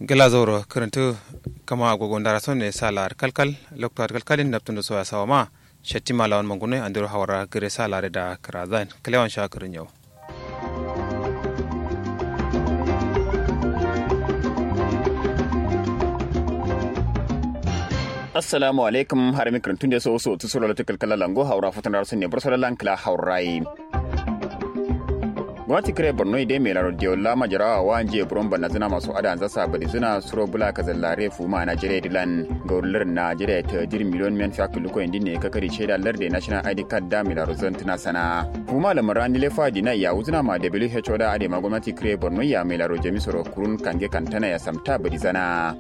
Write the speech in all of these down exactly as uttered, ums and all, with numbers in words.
Gla zauro kǝrǝntǝ. Kama agogo ndara sonne sa la'ar kalkal loktu adǝ kalkalin naptǝ ndo soya sawa ma. Shattima lawan mangune andero hawara gǝre sa la'are da kǝrazayin kǝlewan sha kǝrǝn yau. Assalamu alaikum harami kǝrǝntun de so so tǝ suro loktu kalkal lango hawara futu ndara sonne buro solo lan kǝla hawarayi. Gomnati kǝre borno ye dai mai laro diyo la majarawa wa njiye buron bannazǝna maso ada anza sa badizǝna suro bula kazallare fuma najeriya dilan. Gauri lardǝ najeriya ta dir miliyon men fiya kǝlluko yindin ne kakari shaida lardǝ national id card da mai laro zantǝna sana. Fuma lamara nile fadi na ya wuzǝna ma who da adai ma gomnati kǝre borno ya mai laro jami soro kurun kange kantana ya samta badizana.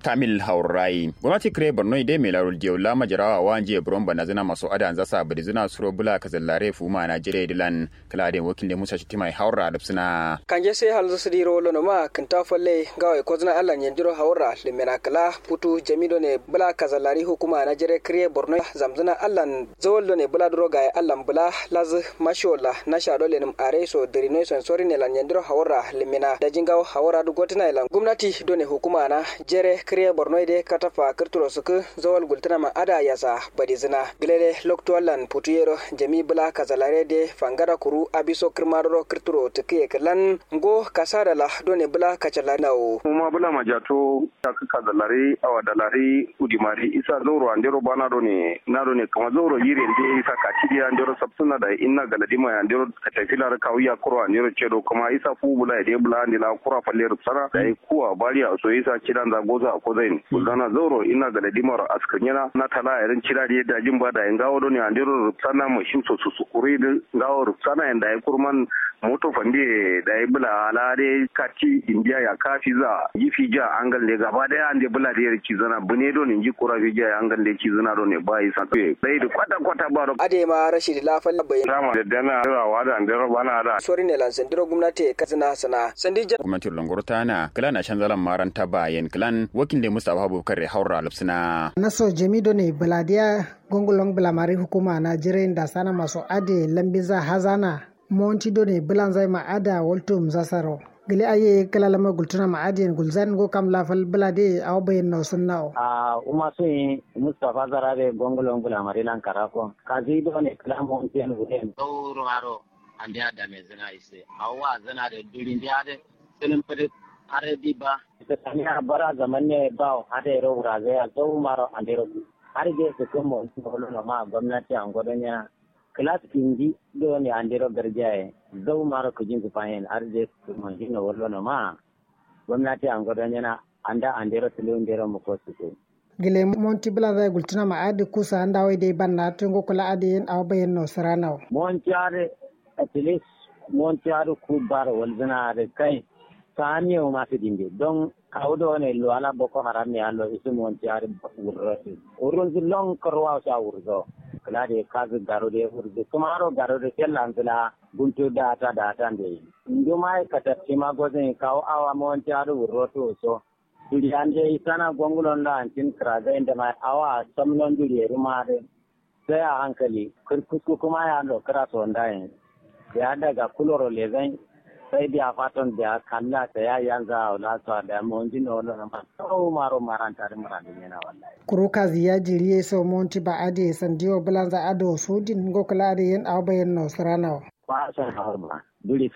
Kamil haurai gomnati kǝre borno ye dai mai laro diyo la majarawa wa njiye buron bannazǝna maso ada anza sa badizǝna suro bula kazallare fuma najeriya dilan. Kǝla adai wakil ne musa shittima ye haura adabsǝna. Kanje sai halzǝ sǝdi ro lono ma kǝnta falle ngawo ye kozǝna allan yandiro haura lǝmena kǝla futu jami done bula kazallari hukuma najeriya kǝre borno zamzǝna allan zawal done bula duro gaye allan bula lazǝ mashiwalla nasha dole nǝm are so dǝrino ye son sori ne lan yandiro haura lǝmena daji ngawo haura duk gotǝna ye lan gomnati done hukuma na jere kǝre borno ye de katafa kǝrturo sǝkǝ zawal gultǝna ma ada yasa badizǝna. Gǝlele loktu allan futu yero jami bula kazallare de fangada kuru abiso kǝrma duro kǝrturo tǝkǝye kǝlan ngo kasada la done bǝla kacalari nawo. Kuma bǝla majato takǝ kazalari awa dalari udimari isa zauro andero bana done na done kama zauro yire nde isa kati diya andero sabsuna da inna galadima ya andero katafilar kawiya kuro andero cedo kuma isa fu bula ya de bula ande la kura falle rubsana da yi kuwa bariya so isa cidan za goza a kozain gulzana zauro inna galadima ro askirnyana na tala ya rin cida de dajin ba da yi ngawo done andero rubsana mashin so su sukuri din ngawo rubsana ya da yi kurman moto fande dayi bula ala de kati indiya ya ka fiza nji fija angal de gaba daya ande bula de yar cizana bune do ne nji kura fija ya angal de cizana do ne ba yi santu ye sai da kwata kwata ba do ade ma rashidi la fal bai rama da dana rawa da ande roba na da sori ne lan sandiro gumnati ka zina sana sandi ja gumnati longoro tana kala na shanzalan maranta bayen klan wakil de mustafa abubakar re haura lupsina naso jami do ne bula diya gongolong bula mari hukuma na jirai da sana maso ade lambiza hazana. Monti done bǝlanzai ma ada waltum zasaro. Gǝle aye kǝla lama gultuna ma adiyen gulzan ngo kam lafal bǝla de awo bayen no sunnawo. A uma suyi mustafa zarare gongolong bǝla mari lan karako kazi done kǝla monti en wuren zauro maro. Ande adame zǝna ise awo wa zǝna de duri nde ade sǝlǝm fǝdǝ are di ba. Saniya bara zaman ne bawo ade ro wuraze ya zauro maro ande ro har de sǝkǝn monti wolo no ma gomnati ango don ya. Kǝlas indi done andero garjaye zau maro kǝjinzǝ fayen adǝ de sǝkǝ monjinno wallonoma. Gomnati ango donyena anda andero tǝlǝwundero muko sǝkǝ. Gǝle monti bǝlanzaye gultǝnama adǝ kusa anda wai dai banna tǝ ngo kǝla adǝ yen awo bayenno sǝranawo. Monti adǝ at least monti adǝ ku baro walzǝna adǝ kai. Samiye wuma sǝdinde don kawu done luwala boko haram ye allo isǝ monti adǝ wurrosǝ wurrunzǝ lon kǝrwawo sha wurzo. Kǝla de kazǝ garo de wurrunzǝ kǝmaro garo de fellanzǝ la. Guntu data data mbeyi. Ndumayi katattima gozǝnyi kawu awa monti adǝ wurrotu wuso. Duriya ndeyi sana gongulon la antin kǝrazayin dǝmayi awa samnon duriyeruma adǝ. Sai a hankali kǝrkusku kǝma ya lo kǝra sondayen. Biya daga kuloro lezan. Sai biya faton biya kalla sai ya yanza awo la so a biya monjin no wallonoma. Sau maro maranta dǝ murandin yana wallahi. Kuru kazi ya jiri ye so monti ba adǝ ye sandiwo bǝlanza adǝ wo sudin ngo kǝla adǝ yen awo bayen no sǝranawo. Ba so hawar ba. Duri.